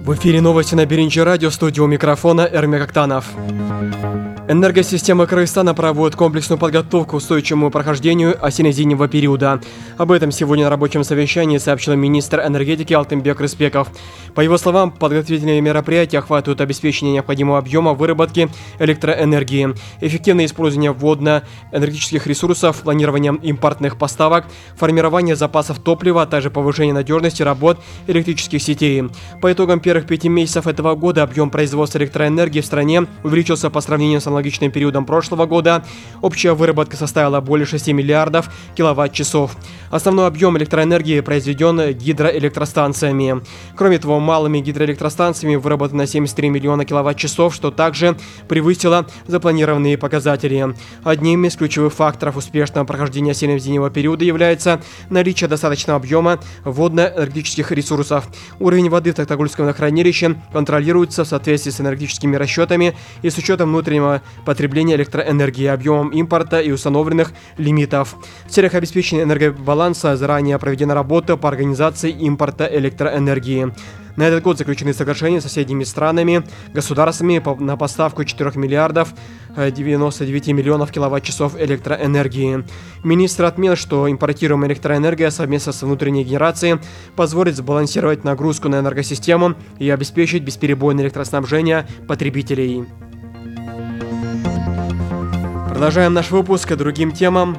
В эфире новости на Биринчи радио, студия у микрофона Эрмек Актанов. Энергосистема Кыргызстана проводит комплексную подготовку к устойчивому прохождению осенне-зимнего периода. Об этом сегодня на рабочем совещании сообщил министр энергетики Алтынбек Рыспеков. По его словам, подготовительные мероприятия охватывают обеспечение необходимого объема выработки электроэнергии, эффективное использование водно-энергетических ресурсов, планирование импортных поставок, формирование запасов топлива, а также повышение надежности работ электрических сетей. По итогам первых 5 месяцев этого года объем производства электроэнергии в стране увеличился по сравнению с аналогичным периодом прошлого года. Общая выработка составила более 6 миллиардов киловатт-часов. Основной объем электроэнергии произведен гидроэлектростанциями. Кроме того, малыми гидроэлектростанциями выработано 73 миллиона киловатт-часов, что также превысило запланированные показатели. Одним из ключевых факторов успешного прохождения осенне-зимнего периода является наличие достаточного объема водно-энергетических ресурсов. Уровень воды в Токтагульском водохранилище контролируется в соответствии с энергетическими расчетами и с учетом внутреннего потребления электроэнергии, объемом импорта и установленных лимитов. В целях обеспечения энергобаланса заранее проведена работа по организации импорта электроэнергии. На этот год заключены соглашения с соседними странами, государствами на поставку 4 миллиардов 99 миллионов киловатт-часов электроэнергии. Министр отметил, что импортируемая электроэнергия совместно с внутренней генерацией позволит сбалансировать нагрузку на энергосистему и обеспечить бесперебойное электроснабжение потребителей. Продолжаем наш выпуск к другим темам.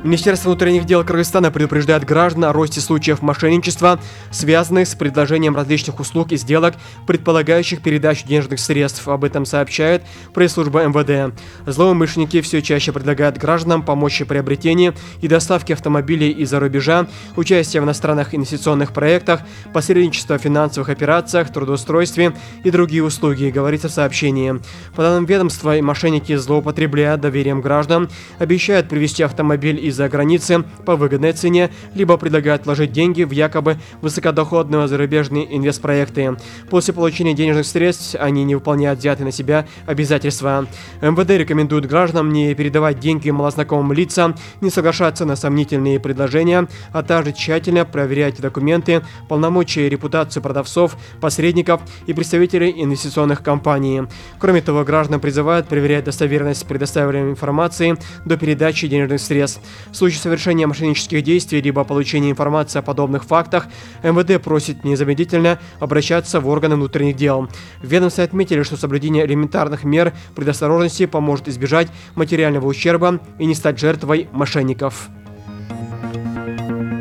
Министерство внутренних дел Кыргызстана предупреждает граждан о росте случаев мошенничества, связанных с предложением различных услуг и сделок, предполагающих передачу денежных средств. Об этом сообщает пресс-служба МВД. Злоумышленники все чаще предлагают гражданам помочь в приобретении и доставке автомобилей из-за рубежа, участие в иностранных инвестиционных проектах, посредничество в финансовых операциях, трудоустройстве и другие услуги, говорится в сообщении. По данным ведомства, мошенники злоупотребляют доверием граждан, обещают привезти автомобиль из-за границы по выгодной цене, либо предлагают вложить деньги в якобы высокодоходные зарубежные инвестпроекты. После получения денежных средств они не выполняют взятые на себя обязательства. МВД рекомендует гражданам не передавать деньги малознакомым лицам, не соглашаться на сомнительные предложения, а также тщательно проверять документы, полномочия и репутацию продавцов, посредников и представителей инвестиционных компаний. Кроме того, граждан призывают проверять достоверность предоставляемой информации до передачи денежных средств. В случае совершения мошеннических действий либо получения информации о подобных фактах, МВД просит незамедлительно обращаться в органы внутренних дел. В ведомстве отметили, что соблюдение элементарных мер предосторожности поможет избежать материального ущерба и не стать жертвой мошенников.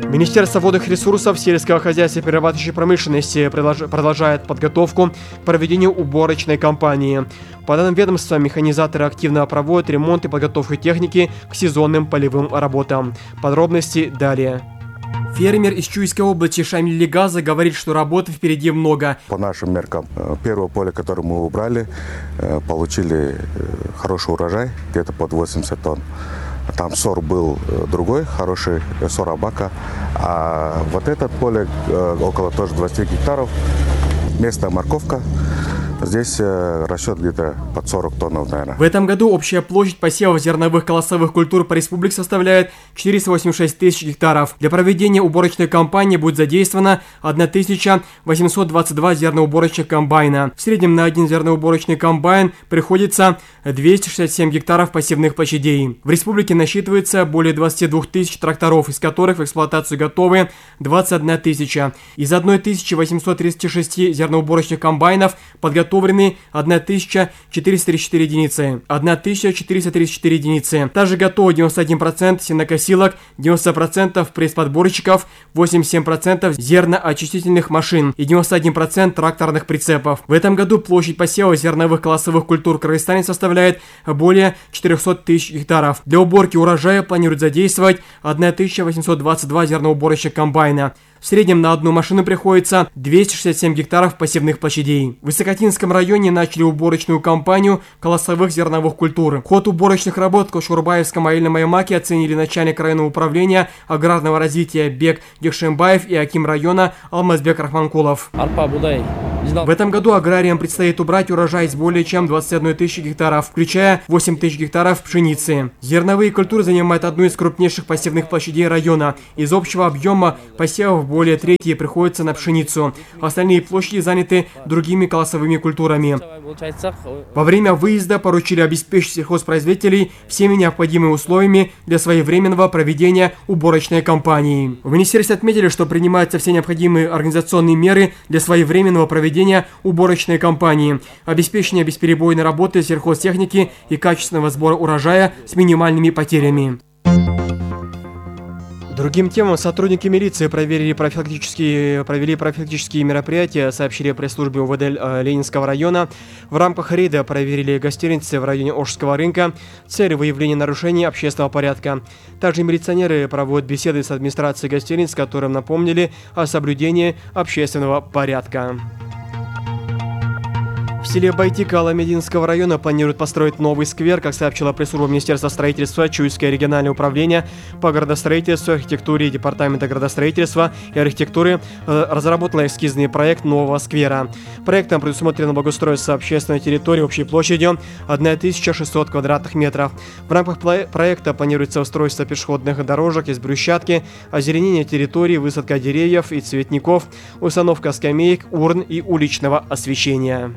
Министерство водных ресурсов, сельского хозяйства и перерабатывающей промышленности продолжает подготовку к проведению уборочной кампании. По данным ведомства, механизаторы активно проводят ремонт и подготовку техники к сезонным полевым работам. Подробности далее. Фермер из Чуйской области Шамиль Легаза говорит, что работы впереди много. По нашим меркам, первое поле, которое мы убрали, получили хороший урожай, где-то под 80 тонн. Там сор был другой, хороший сор Абака. А вот это поле около тоже 20 гектаров, местная морковка. Здесь расчет где-то под 40 тонн, наверное. В этом году общая площадь посевов зерновых колосовых культур по республике составляет 486 тысяч гектаров. Для проведения уборочной кампании будет задействовано 1822 зерноуборочных комбайна. В среднем на один зерноуборочный комбайн приходится 267 гектаров посевных площадей. В республике насчитывается более 22 тысяч тракторов, из которых в эксплуатацию готовы 21 тысяча. Из 1836 зерноуборочных комбайнов подготовлены 1434 единицы. 1434 единицы. Также готово 91% сенокосилок, 90% пресс-подборщиков, 87% зерноочистительных машин и 91% тракторных прицепов. В этом году площадь посева зерновых колосовых культур в Кыргызстане составляет более 400 тысяч гектаров. Для уборки урожая планируют задействовать 1822 зерноуборочных комбайна. В среднем на одну машину приходится 267 гектаров посевных площадей. В Высокотинском районе начали уборочную кампанию колосовых зерновых культур. Ход уборочных работ в Кошурбаевском аильном аймаке оценили начальник районного управления аграрного развития Бек Гекшембаев и аким района Алмазбек Рахманкулов. Арпа, будай В этом году аграриям предстоит убрать урожай с более чем 21 тысячи гектаров, включая 8 тысяч гектаров пшеницы. Зерновые культуры занимают одну из крупнейших посевных площадей района. Из общего объема посевов более трети приходится на пшеницу. Остальные площади заняты другими колосовыми культурами. Во время выезда поручили обеспечить сельхозпроизводителей всеми необходимыми условиями для своевременного проведения уборочной кампании. В министерстве отметили, что принимаются все необходимые организационные меры для своевременного проведения уборочной кампании, обеспечения бесперебойной работы сельхозтехники и качественного сбора урожая с минимальными потерями. Другим темам сотрудники милиции провели профилактические мероприятия, сообщили пресс-службе УВД Ленинского района. В рамках рейда проверили гостиницы в районе Ошского рынка, цель выявления нарушений общественного порядка. Также милиционеры проводят беседы с администрацией гостиниц, которым напомнили о соблюдении общественного порядка. В селе Байтика Аламединского района планируют построить новый сквер, как сообщила пресс-служба Министерства строительства, Чуйское региональное управление по градостроительству, архитектуре и Департамента градостроительства и архитектуры разработало эскизный проект нового сквера. Проектом предусмотрено благоустройство общественной территории общей площадью 1600 квадратных метров. В рамках проекта планируется устройство пешеходных дорожек из брусчатки, озеленение территории, высадка деревьев и цветников, установка скамеек, урн и уличного освещения.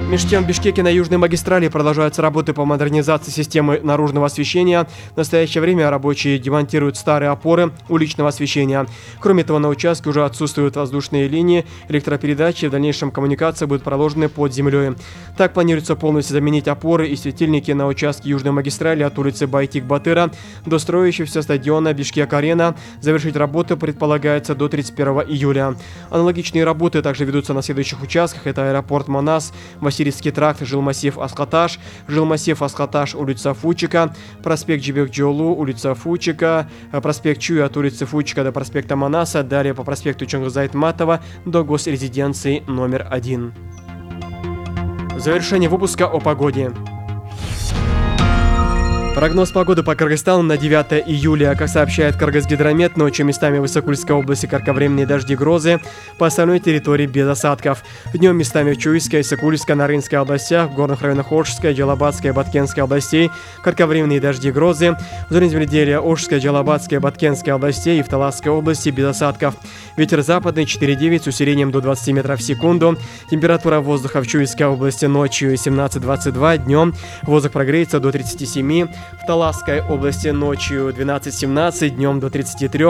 Между тем, в Бишкеке на Южной магистрали продолжаются работы по модернизации системы наружного освещения. В настоящее время рабочие демонтируют старые опоры уличного освещения. Кроме того, на участке уже отсутствуют воздушные линии электропередачи. В дальнейшем коммуникации будут проложены под землей. Так планируется полностью заменить опоры и светильники на участке Южной магистрали от улицы Байтик-Батыра до строящегося стадиона Бишкек-Арена. Завершить работу предполагается до 31 июля. Аналогичные работы также ведутся на следующих участках. Это аэропорт Манас, Васильевский тракт, жилмассив Асхаташ, улица Фучика, проспект Джибек-Джолу, улица Фучика, проспект Чуй от улицы Фучика до проспекта Манаса, далее по проспекту Чонгыза-Айтматова до госрезиденции номер 1. Завершение выпуска о погоде. Прогноз погоды по Кыргызстану на 9 июля. Как сообщает Кыргызгидромет, ночью местами в Исыкульской области кратковременные дожди, грозы, по остальной территории без осадков. Днем местами в Чуйской, Исыкульской, Нарынской областях, в горных районах Ошской, Джалабатской, Баткенской областей кратковременные дожди, грозы. В зоне земледелия Ошской, Джалабатской, Баткенской областей и в Таласской области без осадков. Ветер западный 4,9 с усилением до 20 метров в секунду. Температура воздуха в Чуйской области ночью 17-22, днем воздух прогреется до 37. В Таласской области ночью 12-17, днем до 33.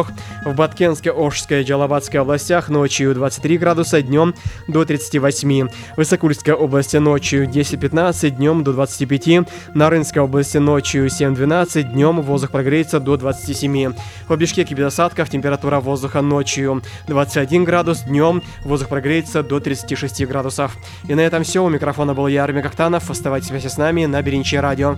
В Баткенской, Ошской, Джалабатской областях ночью 23 градуса, днем до 38. В Исыкульской области ночью 10-15, днем до 25. На Рынской области ночью 7-12, днем воздух прогреется до 27. В Бишкеке без осадков, температура воздуха ночью 21 градус, днем воздух прогреется до 36 градусов. И на этом все. У микрофона был я, Эрмек Актанов. Оставайтесь вместе с нами на Биринчи радио.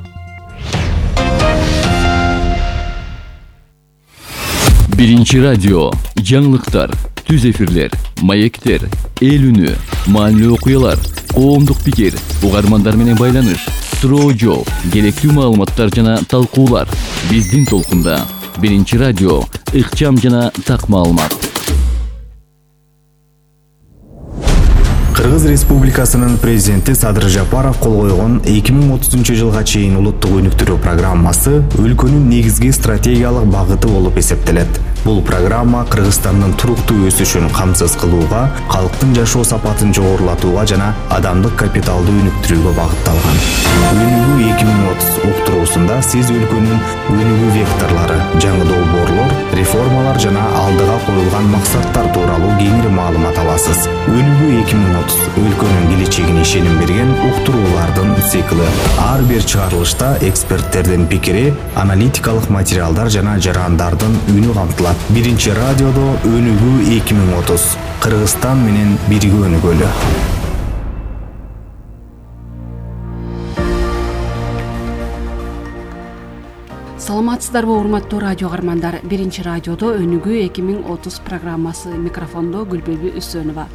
Биринчи радио, жаңылыктар, түз эфирлер, маектер, эл үнү, маанилүү окуялар, коомдук пикир, угармандар менен байланыш, суроо жооп, керектүү маалыматтар жана талкуулар. Биздин толкунда. Биринчи радио, ыкчам жана так маалымат. Кыргыз Республикасынын президенти Садыр Жапаров кол койгон 2030-жылга чейин улуттук өнүктүрүү программасы өлкөнүн негизги стратегиялык багыты болуп эсептелет. Бул программа Кыргызстандын туруктуу өсүшүн камсыз кылууга, калктын жашоо сапатын жогорулатууга жана адамдык капиталды өнүктүрүүгө багытталган. Өнүгүү 2030 уктуруусунда сиз өлкөнүн өнүгүү векторлору, жаңы долбоорлор, реформалар жана алдыга коюлган максаттар тууралуу кеңири маалымат аласыз. Өнүгүү 2030 өлкөнүн келечегине ишеним берген уктуруулардын цикли. Ар бир чыгарылышта эксперттердин пикири, аналитикалык материалдар жана жарандардын үнү камтылат. Биринчи радиодо өнүгүү 2030. Кыргызстан менен бирге өнүгөлү. Саламатсыздарбы, урматтуу радио каармандар. Биринчи радиодо өнүгүү 2030 программасы, микрофондо Гүлбүлбү Үсөнова.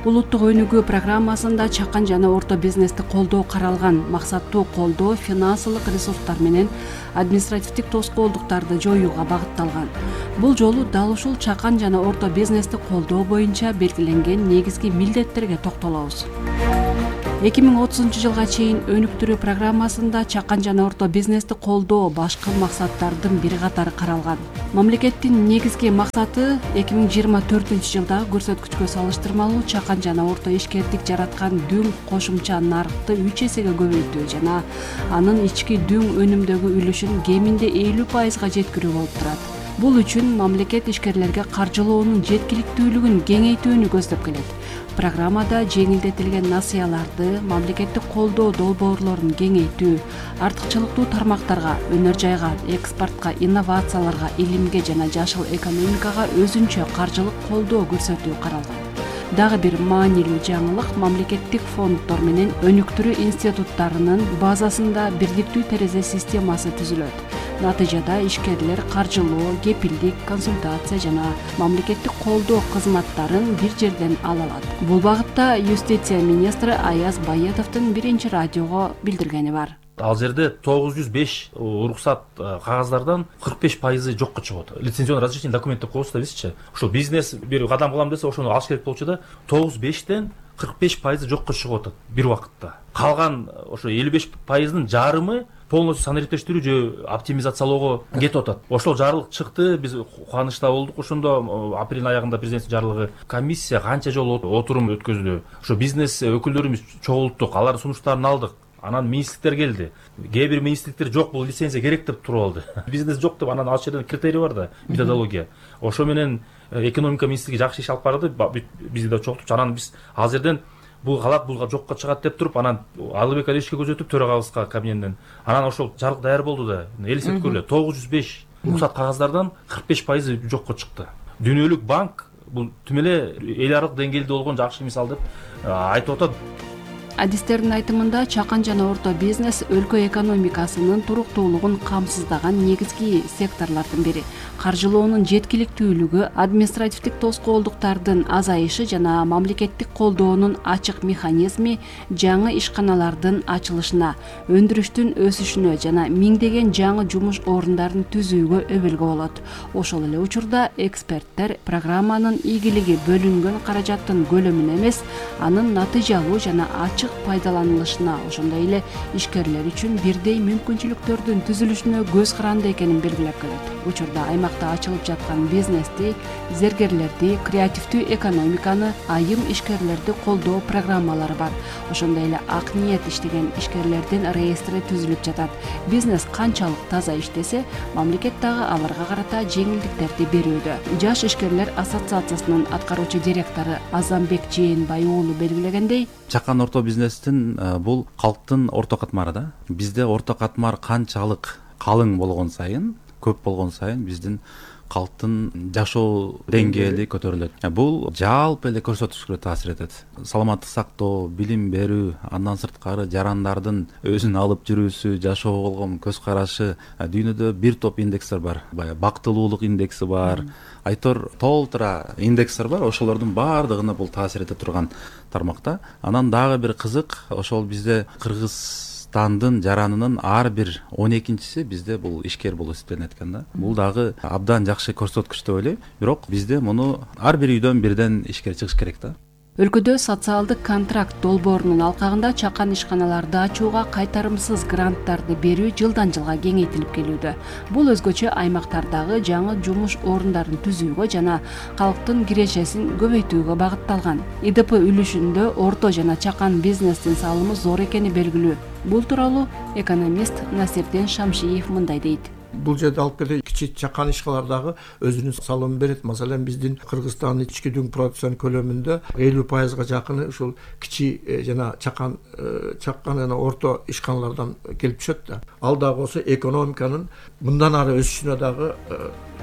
Улуттук өнүгүү программасында чакан жана орто бизнести колдоо каралган. Максаттуу колдоо финансылык ресурстар менен административдик тоскоолдуктарды жоюуга багытталган. Бул жолу дал ушул чакан жана орто бизнести колдоо боюнча белгиленген негизги милдеттерге токтолобуз. 2030 жылга чейин өнүктүрүү программасында чакан жана орто бизнести колдоо башкы максаттардын бир катары каралган. Мамлекеттин негизги максаты 2024 жылдагы көрсөткүчкө салыштырмалуу чакан жана орто ишкердик жараткан дүң кошумча нарыкты 3 эсеге көбөйтүү жана анын ички дүң өнүмдөгү үлүшүн кеминде 50%га жеткирүү болуп турат. Бул үчүн мамлекет ишкерлерге каржылоонун жеткиликтүүлүгүн кеңейтүүнү көздөп келет. Программада жеңилдетилген насыяларды, мамлекеттик колдоо долбоорлорун кеңейтүү, артыкчылыктуу тармактарга, өнөр жайга, экспортко, инновацияларга, илимге жана жашыл экономикага өзүнчө каржылык колдоо көрсөтүү каралган. Дагы бир маанилүү жаңылык мамлекеттик фонддор менен өнүктүрүү институттарынын базасында бирдиктүү терезе системасы түзүлөт. Натыйжада ишкерлер каржылоо, кепилдик, консультация жана мамлекеттик колдоо кызматтарын бир жерден ала алат. Бул багытта юстиция министри Аяз Байетовдун биринчи радиого билдиргени бар. Ал жерде 905 уруксат кагаздардан 45% жокко чыгат. Лицензионный разрешение документти коебуз да бизчи. Ошол бизнес бир кадам кылам десе ошону алыш керек болчу да 905тен 45% жокко чыгып атат бир убакытта. Калган ошо 55%дын жарымы полностью санариптештирүү же оптимизациялоого кетип атат. Ошол жарлык чыкты, биз кубанычта болдук. Ошондо апрель аягында президенттин жарлыгы комиссия канча жолу отурум өткөздү. Ошо бизнес өкүлдөрүбүз чогулттук, алардын сунуштарын алдык. Анан министрликтер келди. Кээ бир министрликтер жок, бул лицензия керек деп туруп алды. Бизнес жок деп, анан ал жерден критерий бар да, методология. Ошо менен экономика министрлиги жакшы иш алып барды, бизди да чогултуп, анан биз ал жерден бул калат, бул жокко чыгат деп туруп, анан Алыбек Алишке көзөтүп төрагабызга кабинеттен. Анан ошол жарык даяр болду да. Элестеткүлө 905 уруксат кагаздардан 45% жокко чыкты. Дүйнөлүк банк бул түм эле эл аралык деңгээлде болгон жакшы мисал деп айтып атат. Адистердин айтымында чакан жана орто бизнес өлкө экономикасынын туруктуулугун камсыздаган негизги секторлордун бири. Каржылоонун жеткиликтүүлүгү, административдик тоскоолдуктардын азайышы жана мамлекеттик колдоонун ачык механизми жаңы ишканалардын ачылышына, өндүрүштүн өсүшүнө жана миңдеген жаңы жумуш орундарын түзүүгө өбөлгө болот. Ошол эле учурда эксперттер программанын ийгилиги бөлүнгөн каражаттын көлөмүнө эмес, анын натыйжалуу жана ачык пайдаланылышына, ошондой эле ишкерлер үчүн бирдей мүмкүнчүлүктөрдүн түзүлүшүнө көз каранды экенин белгилеп келет. Учурда аймакта ачылып жаткан бизнести, зергерлерди, креативдүү экономиканы, айым ишкерлерди колдоо программалары бар. Ошондой эле ак ниет иштеген ишкерлердин реестри түзүлүп жатат. Бизнес канчалык таза иштесе, мамлекет дагы аларга карата жеңилдиктерди берүүдө. Жаш ишкерлер ассоциациясынын аткаруучу директору Азамбек Жээнбай уулу белгилегендей, чакан орто бизнестин бул калктын орто катмары да. Бизде орто катмар канчалык калың болгон сайын, көп болгон сайын биздин калктын жашоо деңгээли көтөрүлөт. Бул жалпы эле көрсөткүчкө таасир этет. Саламаттык сактоо, билим берүү, андан сырткары жарандардын өзүн алып жүрүүсү, жашоого болгон көз карашы, дүйнөдө бир топ индекстер бар. Баягы бактылуулук индекси бар, айтор толтура индекстер бар. Ошолордун баардыгына бул таасир эте турган тармакта. Анан дагы бир кызык, ошол бизде Кыргызстандын жаранынын ар бир 12-си бизде бул ишкер болуп эсептелет экен да. Бул дагы абдан жакшы көрсөткүч деп ойлойм. Бирок бизде муну ар бир үйдөн бирден ишкер чыгыш керек да. Өлкөдө социалдык контракт долбоорунун алкагында чакан ишканаларды ачууга кайтарымсыз гранттарды берүү жылдан жылга кеңейтилип келүүдө. Бул өзгөчө аймактардагы жаңы жумуш орундарын түзүүгө жана калктын кирешесин көбөйтүүгө багытталган. ИДП үлүшүндө орто жана чакан бизнестин салымы зор экени белгилүү. Бул тууралуу экономист Насирдин Шамшиев мындай дейт. Бул жерде алып келе кичи чакан ишканалар дагы өзүнүн салымын берет. Маселен биздин Кыргызстандын ички дүң продукциянын көлөмүндө 50%га жакыны ушул кичи жана чакан жана орто ишканалардан келип түшөт да. Ал дагы болсо экономиканын мындан ары өсүшүнө дагы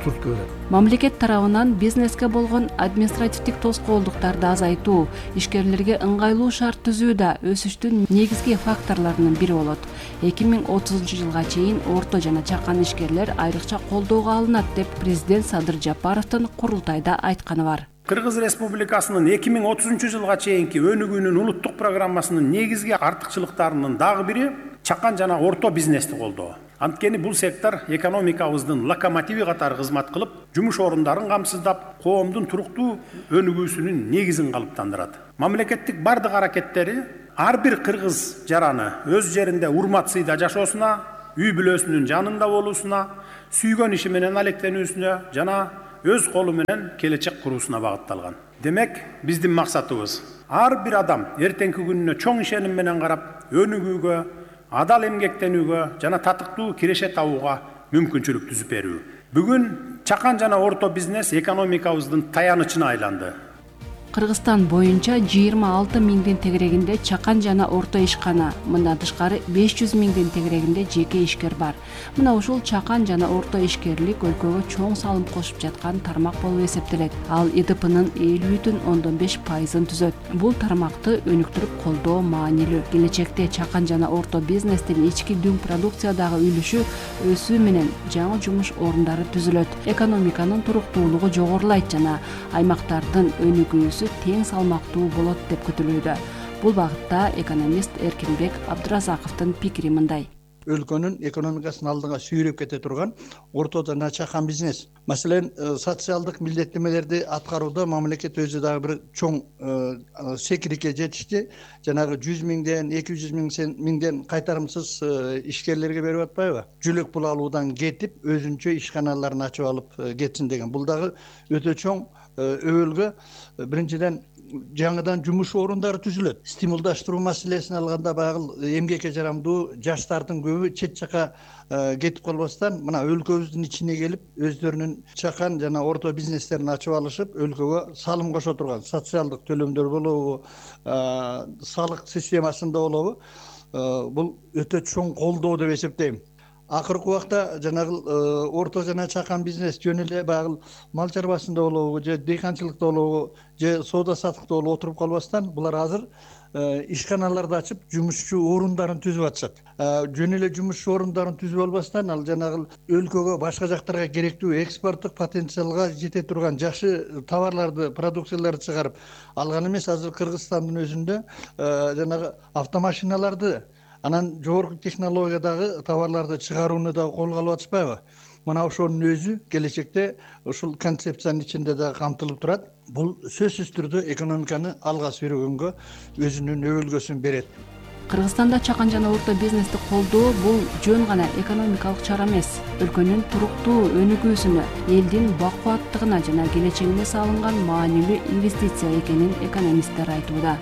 туртку берет. Мамлекет тарабынан бизнеске болгон административдик тоскоолдуктарды азайтуу, ишкерлерге ыңгайлуу шарт түзүү да өсүштүн негизги факторлорунун бири болот. 2030 жылга чейин орто жана чакан ишкерлер айрыкча колдоого алынат деп президент Садыр Жапаровдун курултайда айтканы бар. Кыргыз Республикасынын 2030 жылга чейинки өнүгүүнүн улуттук программасынын негизги артыкчылыктарынын дагы бири чакан жана орто бизнести колдоо. Анткени бул сектор экономикабыздын локомотиви катары кызмат кылып, жумуш орундарын камсыздап, коомдун туруктуу өнүгүүсүнүн негизин калыптандырат. Мамлекеттик бардык аракеттери ар бир кыргыз жараны өз жеринде урмат сыйда жашоосуна, үй бүлөсүнүн жанында болуусуна, сүйгөн иши менен алектенүүсүнө жана өз колу менен келечек куруусуна багытталган. Демек, биздин максатыбыз ар бир адам эртеңки күнүнө чоң ишеним менен карап, өнүгүүгө, адал эмгектенүүгө жана татыктуу киреше табууга мүмкүнчүлүк түзүп берүү. Бүгүн чакан жана орто бизнес экономикабыздын таянычына айланды. Кыргызстан боюнча 26 миңден тегерегинде чакан жана орто ишкана, мындан тышкары 500 миңден тегерегинде жеке ишкер бар. Мына ушул чакан жана орто ишкерлик өлкөгө чоң салым кошуп жаткан тармак болуп эсептелет. Ал ИДПнын 50,5%-ын түзөт. Бул тармакты өнүктүрүп колдоо маанилүү. Келечекте чакан жана орто бизнестин ички дүң продукциядагы үлүшү өсүү менен жаңы жумуш орундары түзүлөт. Экономиканын туруктуулугу жогорулайт жана аймактардын өнүгүүсү тең салмактуу болот деп күтүлүүдө. Бул багытта экономист Эркинбек Абдыразаковдун пикири мындай. Өлкөнүн экономикасын алдыга сүйрөп кете турган орто жана чакан бизнес. Маселен, социалдык милдеттемелерди аткарууда мамлекет өзү дагы бир чоң секирикке жетишти. Жанагы 100 миңден 200 миңден кайтарымсыз ишкерлерге берип атпайбы? Жүлөк пул алуудан кетип, өзүнчө ишканаларын ачып алып кетсин деген. Бул дагы өтө чоң өбөлгө. Биринчиден жаңыдан жумуш орундары түзүлөт. Стимулдаштыруу маселесин алганда багыл эмгекке жарамдуу жаштардын көбү чет жака кетип калбастан мына өлкөбүздүн ичине келип, өздөрүнүн чакан жана орто бизнестерин ачып алышып, өлкөгө салым кошо турган социалдык төлөмдөр болобу, салык системасында болобу, бул өтө чоң колдоо деп эсептейм. Акыркы убакта жанагы орто жана чакан бизнес жөн эле багыл мал чарбасында болобу, же дыйканчылыкта болобу, же соода саттыкта болуп отуруп калбастан, булар азыр ишканаларды ачып, жумушчу орундарын түзүп атышат. Жөн эле жумушчу орундарын түзүп албастан, ал жанагы өлкөгө башка жактарга керектүү экспорттук потенциалга жете турган жакшы товарларды, продукцияларды чыгарып алган эмес. Азыр Кыргызстандын өзүндө жанагы автомашиналарды, анан жогорку технологиядагы товарларды чыгарууну да колго алып атышпайбы? Мына ошонун өзү келечекте ушул концепциянын ичинде да камтылып турат. Бул сөзсүз түрдө экономиканы алга сүйрөгөнгө өзүнүн өбөлгөсүн берет. Кыргызстанда чакан жана орто бизнести колдоо бул жөн гана экономикалык чара эмес, өлкөнүн туруктуу өнүгүүсүнө, элдин бакубаттыгына жана келечегине салынган маанилүү инвестиция экенин экономисттер айтууда.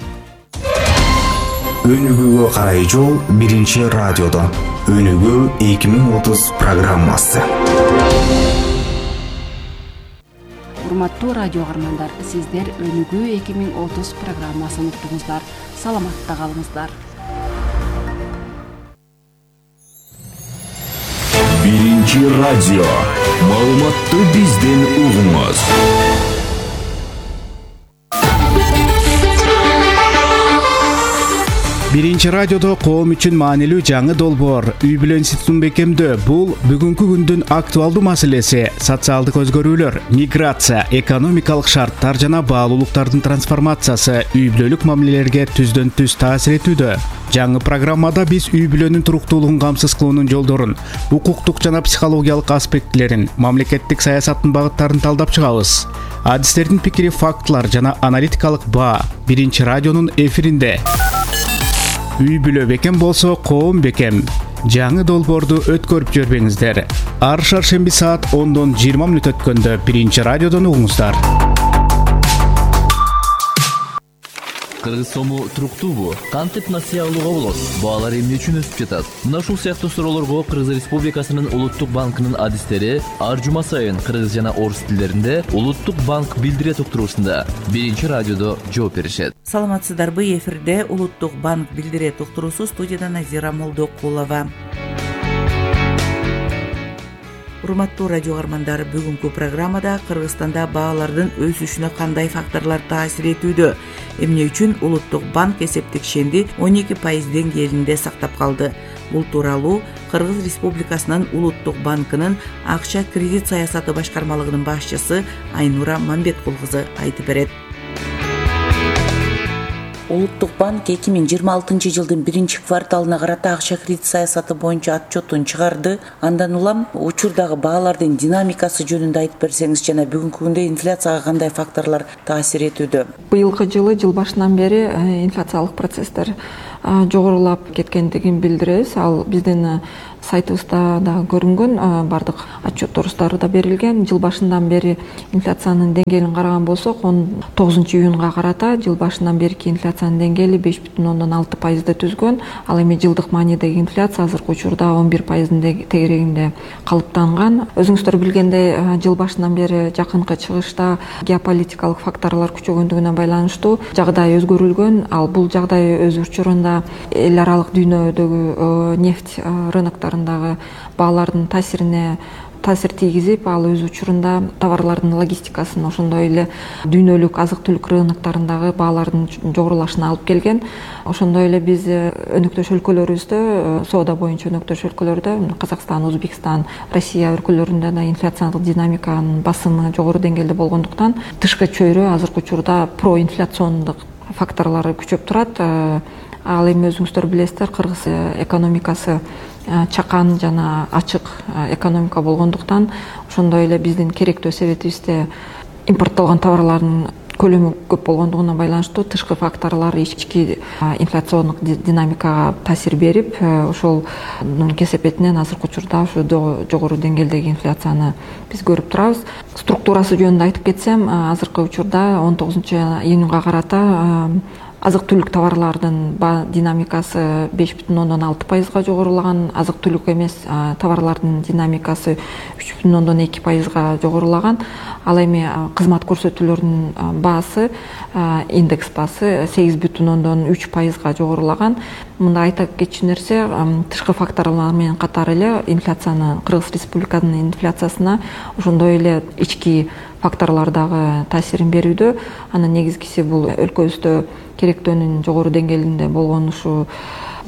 Өнүгүүгө карай жол биринчи радиодо. Өнүгүү 2030 программасы. Урматтуу радио каармандар, сиздер Өнүгүү 2030 программасын уктуңуздар. Саламатта калыңыздар. Биринчи радио. Маалыматты бизден угуңуз. Биринчи радиодо коом үчүн маанилүү жаңы долбоор үй бүлө институтун бекемдөө. Бул бүгүнкү күндүн актуалдуу маселеси. Социалдык өзгөрүүлөр, миграция, экономикалык шарттар жана баалуулуктардын трансформациясы үй бүлөлүк мамилелерге түздөн түз таасир этүүдө. Жаңы программада биз үй бүлөнүн туруктуулугун камсыз кылуунун жолдорун, укуктук жана психологиялык аспектилерин, мамлекеттик саясаттын багыттарын талдап чыгабыз. Адистердин пикири, фактылар жана аналитикалык баа биринчи радионун эфиринде. Үй бүлө бекем болсо, коом бекем. Жаңы долбоорду өткөрүп жүрбөңүздөр. Ар шаршемби саат 10-дон 20 мүнөт өткөндө биринчи радиодон угуңуздар. Кыргыз сому туруктуубу? Кантип насыя алууга болот? Баалар эмне үчүн өсүп жатат? Мына ушул сыяктуу суроолорго Кыргыз Республикасынын Улуттук банкынын адистери ар жума сайын кыргыз жана орус тилдеринде Улуттук банк билдирет уктуруусунда биринчи радиодо жооп беришет. Саламатсыздарбы, эфирде Улуттук банк билдирет уктуруусу, студияда Назира Молдокулова. Урматтуу радио каармандар, бүгүнкү программада Кыргызстанда баалардын өсүшүнө кандай факторлор таасир этүүдө, эмне үчүн Улуттук банк эсептик шенди 12% деңгээлинде сактап калды, Бул тууралуу Кыргыз Республикасынын Улуттук банкынын акча кредит саясаты башкармалыгынын башчысы Айнура Мамбеткул кызы айтып берет. Улуттук банк 2026 жылдын 1-кварталына карата акча кредит саясаты боюнча отчетун чыгарды. Андан улам учурдагы баалардын динамикасы жөнүндө айтып берсеңиз жана бүгүнкү күндө инфляцияга кандай факторлор таасир этүүдө? Быйылкы жылы жыл башынан бери инфляциялык процесстер жогорулап кеткендигин билдиребиз. Ал биздин сайтыбызда дагы көрүнгөн, бардык отчетторубузда да берилген. Жыл башынан бери инфляциянын деңгээлин караган болсок, 19 июнга карата жыл башынан берки инфляциянын деңгээли 5,6% түзгөн. Ал эми жылдык маанидеги инфляция азыркы учурда 11% тегерегинде калыптанган. Өзүңүздөр билгендей, жыл башынан бери жакынкы чыгышта геополитикалык факторлор күчөгөндүгүнө байланыштуу жагдай өзгөрүлгөн. Ал бул жагдай өз учурунда эл аралык дүйнөдөгү нефть рыноктарындагы баалардын таасир тийгизип, ал өз учурунда товарлардын логистикасын, ошондой эле дүйнөлүк азык-түлүк рыноктарындагы баалардын жогорулашына алып келген. Ошондой эле биз өнөктөш өлкөлөрүбүздө, соода боюнча өнөктөш өлкөлөрдө, Казакстан, Өзбекстан, Россия өлкөлөрүндө да инфляциялык динамиканын басымы жогору деңгээлде болгондуктан, тышкы чөйрө азыркы учурда проинфляциондук факторлору күчөп турат. Ал эми өзүңүздөр билесиздер, Кыргыз экономикасы чакан жана ачык экономика болгондуктан, ошондой эле биздин керектөө себетибизде импорттолгон товарлардын көлөмү көп болгондугуна байланыштуу тышкы факторлор ички инфляциондук динамикага таасир берип, ошолдун кесепетинен азыркы учурда ушу жогору деңгээлдеги инфляцияны биз көрүп турабыз. Структурасы жөнүндө айтып кетсем, азыркы учурда 19 июнга карата азык-түлүк товарлардын динамикасы 5,6%га жогорулаган, азык-түлүк эмес товарлардын динамикасы 3,2%га жогорулаган. Ал эми кызмат көрсөтүүлөрдүн баасы, индекс баасы 8,3%га жогорулаган. Мында айта кетчү нерсе, тышкы факторлор менен катар эле инфляцияны, Кыргыз Республикасынын инфляциясына ошондой эле ички факторлор дагы таасирин берүүдө. Анын негизгиси бул өлкөбүздө керектөөнүн жогору деңгээлинде болгону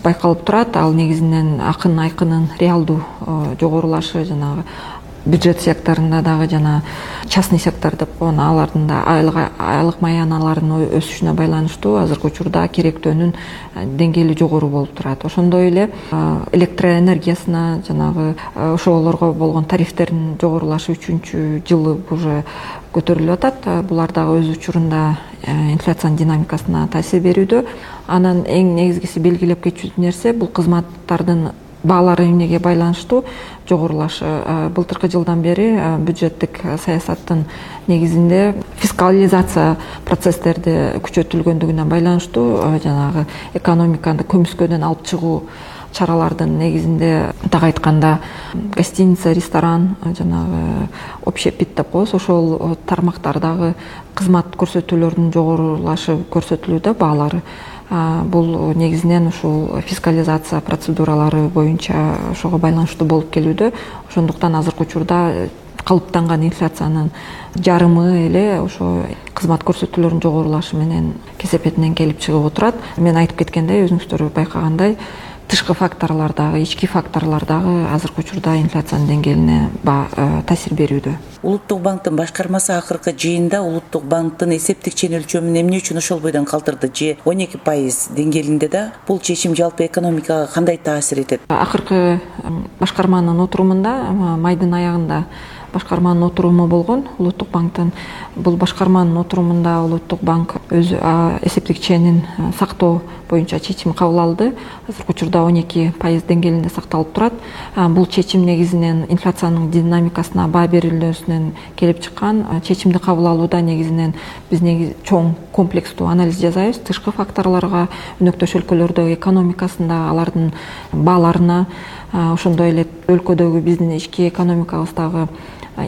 байкалып турат. Ал негизинен айкынын реалдуу жогорулашы, жанагы бюджет секторунда дагы жана частный сектор деп коён, алардын да айлык маяналарынын өсүшүнө байланыштуу азыркы учурда керектөөнүн деңгээли жогору болуп турат. Ошондой эле электроэнергиясына, жанагы ошолорго болгон тарифтердин жогорулашы 3-чү жылы уже көтөрүлүп атат. Булар дагы өз учурунда инфляциянын динамикасына таасир берүүдө. Анан эң негизгиси белгилеп кетчү нерсе, бул кызматтардын баалары эмнеге байланыштуу жогорулашы. Былтыркы жылдан бери бюджеттик саясаттын негизинде фискализация процесстерди күчөтүлгөндүгүнө байланыштуу, жанагы экономиканы көмүскөдөн алып чыгуу чаралардын негизинде, так айтканда, гостиница, ресторан, жанагы общепит деп коебуз, ошол тармактардагы кызмат көрсөтүүлөрдүн жогорулашы көрсөтүлүүдө баалары. Бул негизинен ушул фискализация процедуралары боюнча ошого байланыштуу болуп келүүдө. Ошондуктан азыркы учурда калыптанган инфляциянын жарымы эле ошо кызмат көрсөтүүлөрүнүн жогорулашы менен кесепетинен келип чыгып отурат. Мен айтып кеткендей, өзүңүздөр байкагандай, тышкы факторлор дагы, ички факторлор дагы азыркы учурда инфляциянын деңгээлине таасир берүүдө. Улуттук банктын башкармасы акыркы жыйында Улуттук банктын эсептик ченелчөмүн эмне үчүн ошол бойдон калтырды же 12% деңгээлинде да бул чечим жалпы экономикага кандай таасир этет? Акыркы башкарманын отурумунда, майдын аягында башкарманын отуруму болгон Улуттук банктын. Бул башкарманын отурумунда Улуттук банк өз эсептик ченин сактоо боюнча чечим кабыл алды. Азыркы учурда 12% деңгээлинде сакталып турат. Бул чечим негизинен инфляциянын динамикасына баа берилүүсүнөн келип чыккан. Чечимди кабыл алууда негизинен биз чоң комплекстүү анализ жасайбыз. Тышкы факторлорго, өнөктөш өлкөлөрдөгү экономикасында, алардын бааларына, ошондой эле өлкөдөгү биздин ички экономикабыздагы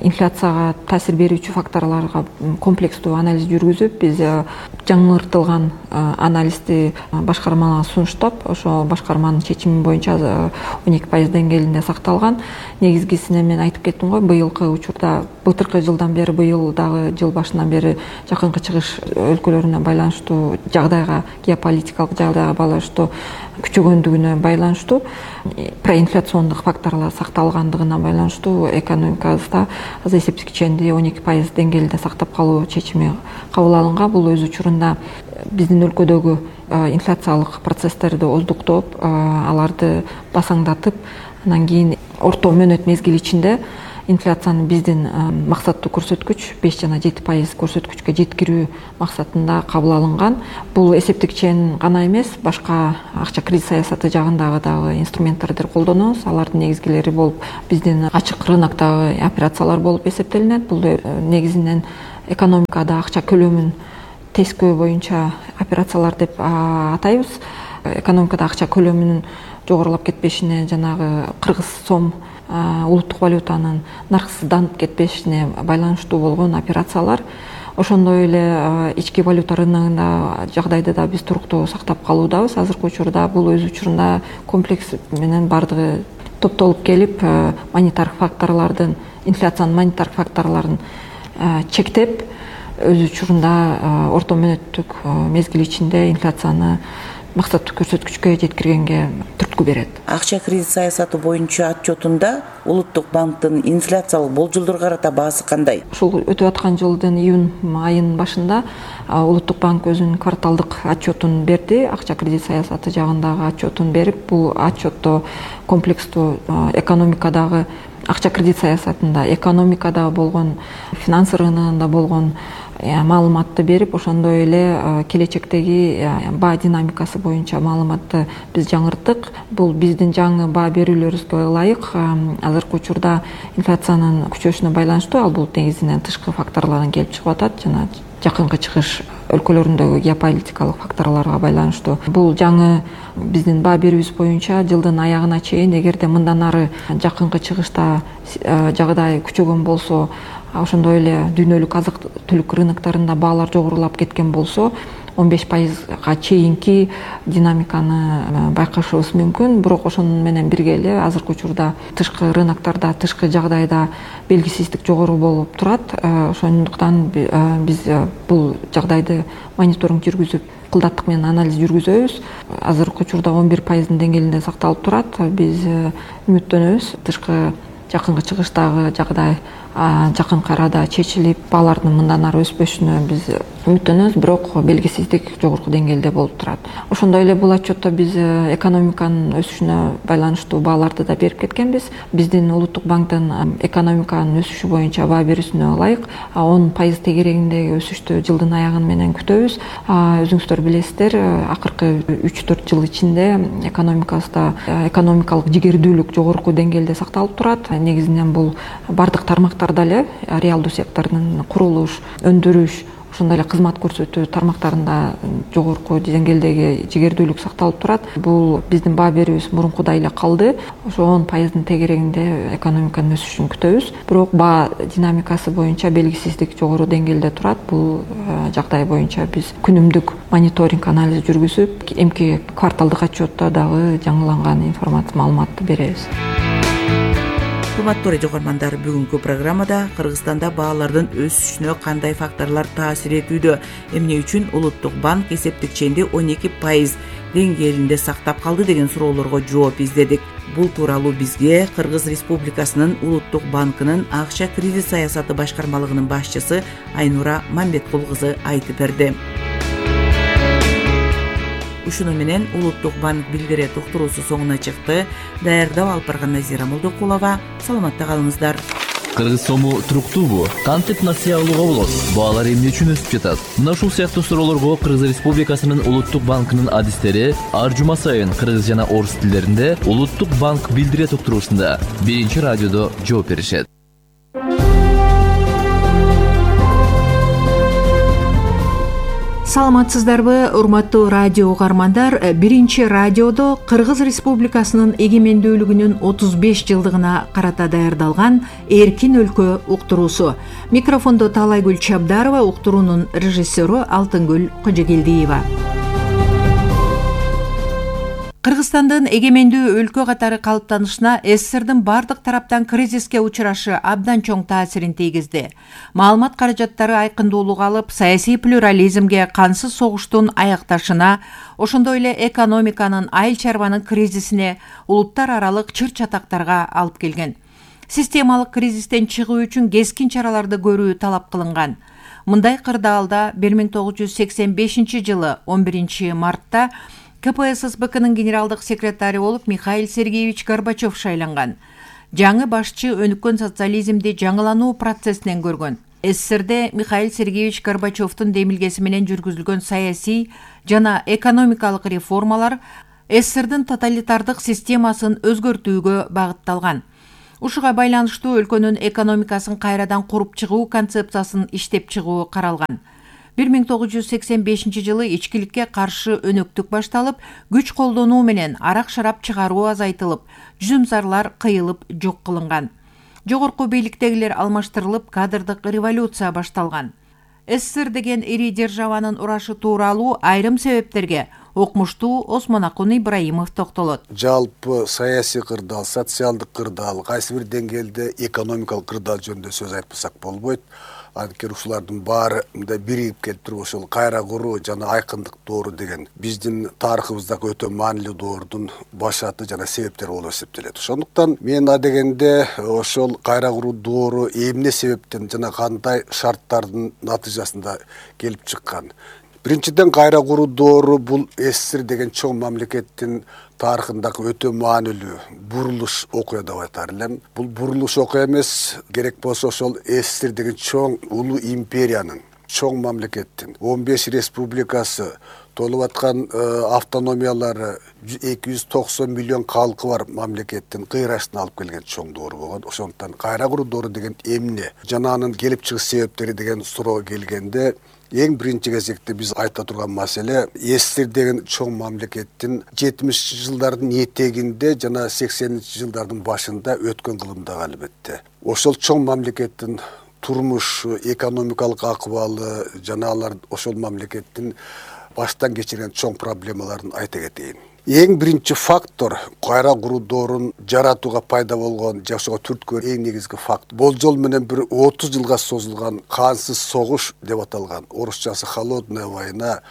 инфляцияга таасир берүүчү факторлорго комплекстүү анализ жүргүзүп, биз жаңыртылган анализди башкармага сунуштап, ошо башкарманын чечими боюнча 12% деңгээлинде сакталган. Негизгисине мен айтып кеттим го, быйылкы учурда былтыркы жылдан бери, быйыл дагы жыл башынан бери жакынкы чыгыш өлкөлөрүнө байланыштуу жагдайга, геополитикалык жагдайга байланыштуу күчөгөндүгүнө байланыштуу, проинфляциондук факторлор сакталгандыгына байланыштуу экономикабызда азыр эсептик киченди 12% деңгээлинде сактап калуу чечими кабыл алынган. Бул өз учурунда биздин өлкөдөгү инфляциялык процесстерди оздуктоп, аларды басаңдатып, анан кийин орто мөөнөт мезгили ичинде инфляцияны биздин максаттуу көрсөткүч 5 жана 7% көрсөткүчкө жеткирүү максатында кабыл алынган. Бул эсептик чен гана эмес, башка акча кредит саясаты жагындагы дагы инструменттерди колдонобуз. Алардын негизгилери болуп биздин ачык рыноктогу операциялар болуп эсептелинет. Бул негизинен экономикада акча көлөмүн тескөө боюнча операциялар деп атайбыз. Экономикада акча көлөмүнүн жогорулап кетпешине, жанагы кыргыз сом улуттук валютанын нарксызданып кетпешине байланыштуу болгон операциялар. Ошондой эле ички валюта рыногунда жагдайды да биз туруктуу сактап калуудабыз. Азыркы учурда бул өз учурунда комплекс менен бардыгы топтолуп келип, монетардык факторлордун, инфляциянын монетардык факторлорун чектеп, өз учурунда орто мөөнөттүк мезгил ичинде инфляцияны максаттуу көрсөткүчкө жеткиргенге түрткү берет. Акча кредит саясаты боюнча отчетунда Улуттук банктын инфляциялык болжолдорго карата баасы кандай? Ушул өтүп аткан жылдын июнь айынын башында Улуттук банк өзүнүн кварталдык отчетун берди. Акча кредит саясаты жагындагы отчетун берип, бул отчетто комплекстүү экономикадагы акча кредит саясатында, экономикада болгон, финансы рыногунда болгон маалыматты берип, ошондой эле келечектеги баа динамикасы боюнча маалыматты биз жаңырттык. Бул биздин жаңы баа берүүлөрүбүзгө ылайык. Азыркы учурда инфляциянын күчөшүнө байланыштуу, ал бул негизинен тышкы факторлордон келип чыгып атат, жана жакынкы чыгыш өлкөлөрүндөгү геополитикалык факторлорго байланыштуу. Бул жаңы биздин баа берүүбүз боюнча жылдын аягына чейин, эгерде мындан ары жакынкы чыгышта жагдай күчөгөн болсо, ошондой эле дүйнөлүк азык түлүк рыноктарында баалар жогорулап кеткен болсо, 15%га чейинки динамиканы байкашыбыз мүмкүн. Бирок ошону менен бирге эле азыркы учурда тышкы рыноктарда, тышкы жагдайда белгисиздик жогору болуп турат. Ошондуктан биз бул жагдайды мониторинг жүргүзүп, кылдаттык менен анализ жүргүзөбүз. Азыркы учурда 11% деңгээлинде сакталып турат. Биз үмүттөнөбүз, тышкы жакынкы чыгыштагы жагдай жакынкы арада чечилип, баалардын мындан ары өспөшүнө биз үмүттөнөбүз, бирок белгисиздик жогорку деңгээлде болуп турат. Ошондой эле бул отчетто биз экономиканын өсүшүнө байланыштуу бааларды да берип кеткенбиз. Биздин Улуттук банктын экономиканын өсүшү боюнча баа берүүсүнө ылайык 10% тегерегиндеги өсүштү жылдын аягы менен күтөбүз. Өзүңүздөр билесиздер, акыркы 3-4 жыл ичинде экономикабызда экономикалык жигердүүлүк жогорку деңгээлде сакталып турат. Негизинен бул бардык тармактарда эле, реалдуу сектордун курулуш, өндүрүш, ошондой эле кызмат көрсөтүү тармактарында жогорку деңгээлдеги жигердүүлүк сакталып турат. Бул биздин баа берүүбүз мурункудай эле калды. Ошо 10% тегерегинде экономиканын өсүшүн күтөбүз. Бирок баа динамикасы боюнча белгисиздик жогору деңгээлде турат. Бул жагдай боюнча биз күнүмдүк мониторинг анализ жүргүзүп, эмки кварталдык отчетто дагы жаңыланган информация маалыматты беребиз. Урматтуу радио угармандар, бүгүнкү программада Кыргызстанда баалардын өсүшүнө кандай факторлор таасир этүүдө, эмне үчүн Улуттук банк эсептик ченди 12% деңгээлинде сактап калды деген суроолорго жооп издедик. Бул тууралуу бизге Кыргыз Республикасынын Улуттук банкынын акча кредит саясаты башкармалыгынын башчысы Айнура Мамбеткул кызы айтып берди. Ушуну менен Улуттук банк билдирет уктуруусу соңуна чыкты. Даярдап алып барган Назира Молдокулова. Саламатта калыңыздар. Кыргыз сому туруктуубу? Кантип насыя алууга болот? Баалар эмне үчүн өсүп жатат? Мына ушул сыяктуу суроолорго Кыргыз Республикасынын Улуттук банкынын адистери ар жума сайын кыргыз жана орус тилдеринде Улуттук банк билдирет уктуруусунда биринчи радиодо жооп беришет. саламатсыздарбы, урматтуу радио угармандар? Биринчи радиодо Кыргыз Республикасынын эгемендүүлүгүнүн 35 жылдыгына карата даярдалган Эркин өлкө уктуруусу. Микрофондо Таалайгүл Чабдарова, уктуруунун режиссеру Алтынгүл Кожогелдиева. Кыргызстандын эгемендүү өлкө катары калыптанышына СССРдин бардык тараптан кризиске учурашы абдан чоң таасирин тийгизди. Маалымат каражаттары айкындуулук алып, саясий плюрализмге, кансыз согуштун аякташына, ошондой эле экономиканын, айыл чарбанын кризисине, улуттар аралык чыр-чатактарга алып келген. Системалык кризистен чыгуу үчүн кескин чараларды көрүү талап кылынган. Мындай кырдаалда 1985 жылы 11 мартта КПССБКнын генералдык секретары болуп Михаил Сергеевич Горбачев шайланган. Жаңы башчы өнүккөн социализмди жаңылануу процессинен көргөн. СССРде Михаил Сергеевич Горбачевдун демилгеси менен жүргүзүлгөн саясий жана экономикалык реформалар СССРдин тоталитардык системасын өзгөртүүгө багытталган. Ушуга байланыштуу өлкөнүн экономикасын кайрадан куруп чыгуу концепциясын иштеп чыгуу каралган. 1985 жылы ичкиликке каршы өнөктүк башталып, күч колдонуу менен арак-шарап чыгаруу азайтылып, жүзүмзарлар кыйылып жок кылынган. Жогорку бийликтегилер алмаштырылып, кадрдык революция башталган. СССР деген ири державанын урашы тууралуу айрым себептерге окумуштуу Осмонакун Ибраимов токтолот. Жалпы саясий кырдаал, социалдык кырдаал, кайсы бир деңгээлде экономикалык кырдаал жөнүндө сөз айтпасак болбойт. Анткени ушулардын баары мындай биригип келип туруп ошол кайра куруу жана айкындык доору деген биздин тарыхыбыздагы өтө маанилүү доордун баш аты жана себептери болуп эсептелет. Ошондуктан мен адегенде ошол кайра куруу доору эмне себептен жана кандай шарттардын натыйжасында келип чыккан. Биринчиден, кайра куруу доору бул СССР деген чоң мамлекеттин тарыхындагы өтө маанилүү бурулуш окуя деп айтар элем. Бул бурулуш окуя эмес, керек болсо ошол СССР деген чоң улуу империянын, чоң мамлекеттин 15 республикасы, толуп аткан автономиялары, 290 миллион калкы бар мамлекеттин кыйрашына алып келген чоң доору болгон. Ошондуктан кайра куруу доору деген эмне жана анын келип чыгыш себептери деген суроого келгенде, эң биринчи кезекте биз айта турган маселе СССР деген чоң мамлекеттин 70 жылдардын этегинде жана 80 жылдардын башында өткөн кылымдагы албетте. Ошол чоң мамлекеттин турмушу, экономикалык акыбалы жана алар ошол мамлекеттин баштан кечирген чоң проблемаларын айта кетейин. Эң биринчи фактор кайра куруу доорун жаратууга пайда болгон, жашоого түрткөн эң негизги факт. Болжол менен бир 30 жылга созулган кансыз согуш деп аталган, орусчасы холодная война,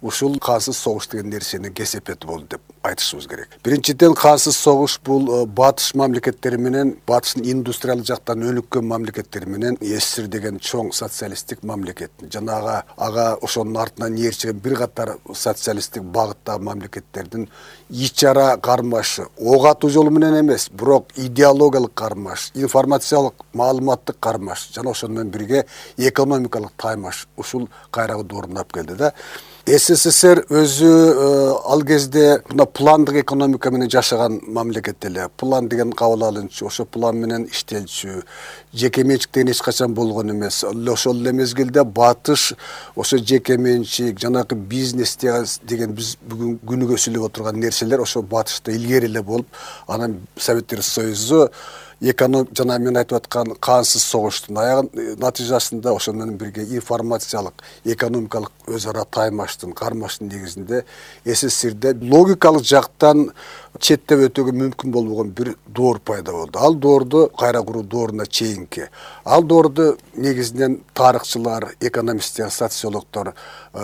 ушул кансыз согуш деген нерсенин кесепети болду деп айтышыбыз керек. Биринчиден, кансыз согуш бул батыш мамлекеттери менен, батыштын индустриалдык жактан өнүккөн мамлекеттери менен СССР деген чоң социалисттик мамлекет жана ага ошонун артынан ээрчиген бир катар социалисттик багыттагы мамлекеттердин ич ара кармашы, ок атуу жолу менен эмес, бирок идеологиялык кармаш, информациялык, маалыматтык кармаш жана ошону менен бирге экономикалык таймаш ушул кайра куруу доорун алып келди да. СССР өзү ал кезде мына пландык экономика менен жашаган мамлекет эле. План деген кабыл алынчу, ошо план менен иштелчү, жеке менчиктен эч качан болгон эмес. Ошол эле мезгилде батыш ошо жеке менчик, жанагы бизнес деген биз бүгүн күнүгө сүйлөп отурган нерселер ошо батышта илгери эле болуп, анан Советтер Союзу жана мен айтып аткан кансыз согуштун натыйжасында ошол менен бирге информациялык, экономикалык өз ара таймаштын, кармаштын негизинде СССРде логикалык жактан четтеп өтүүгө мүмкүн болбогон бир доор пайда болду. Ал доорду кайра куруу дооруна чейинки. Ал доорду негизинен тарыхчылар, экономисттер, социологдор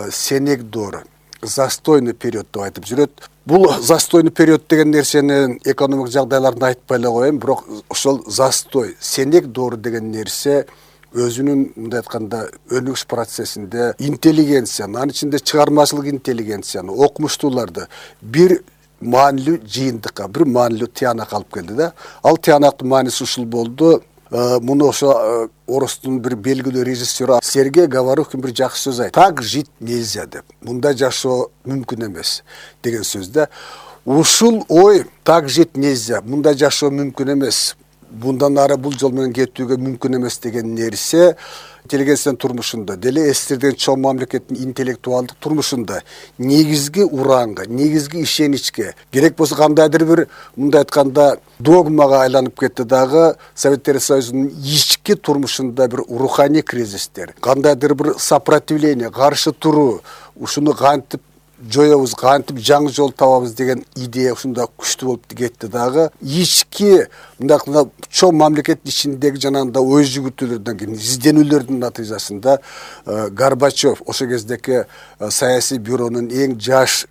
сенек доору, застойный период деп айтып жүрөт. Бул застойный период деген нерсени экономик жагдайларын айтпай эле коеюн, бирок ошол застой, сенек доору деген нерсе өзүнүн мындай айтканда өнүгүш процессинде интеллигенцияны, анын ичинде чыгармачылык интеллигенцияны, окумуштууларды бир маанилүү жыйынтыкка, бир маанилүү тыянакка алып келди да. Ал тыянактын мааниси ушул болду. Муну ошо орустун бир белгилүү режиссеру Сергей Говорухин бир жакшы сөз айтты. Так жить нельзя деп. Мындай жашоо мүмкүн эмес деген сөздө ушул ой так жить нельзя, мындай жашоо мүмкүн эмес мындан ары бул жол менен кетүүгө мүмкүн эмес деген нерсе интеллигенциянын турмушунда деле СССР деген чоң мамлекеттин интеллектуалдык турмушунда негизги ураанга, негизги ишеничке, керек болсо кандайдыр бир мындай айтканда догмага айланып кетти дагы Советтер Союзунун ички турмушунда бир руханий кризистер, кандайдыр бир сопротивление, каршы туруу, ушуну кантип жоебуз, кантип жаңы жол табабыз деген идея ушунда күчтүү болуп кетти дагы. Ички мындай чоң мамлекеттин ичиндеги жанагындай ой жүгүртүүлөрдөн кийин изденүүлөрдүн натыйжасында Горбачев, ошол кездеки саясий бюронун эң жаш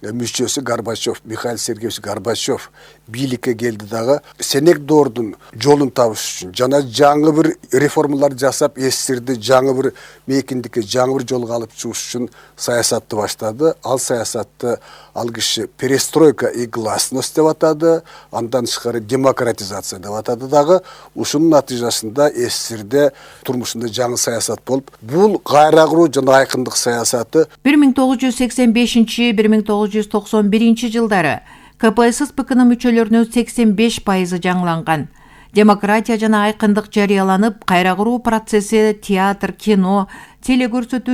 мүчөсү Горбачев, Михаил Сергеевич Горбачев бийликке келди дагы Сенекдордун жолун табыш үчүн жана жаңы бир реформалар жасап СССРди жаңы бир мейкиндикке, жаңы бир жолго алып чыгыш үчүн саясатты баштады. Ал саясатты ал киши перестройка и гласность деп атады, андан тышкары демократизация деп атады дагы. Ушунун натыйжасында СССРде турмушунда жаңы саясат болуп, бул кайра куруу жана айкындык саясаты 1985-1991 жылдары КПСС-БКнын мүчөлөрүнүн 85% жаңыланган. Демократия жана айкындык жарыяланып, кайра куруу процесси театр, кино, телекөрсөтүүлөр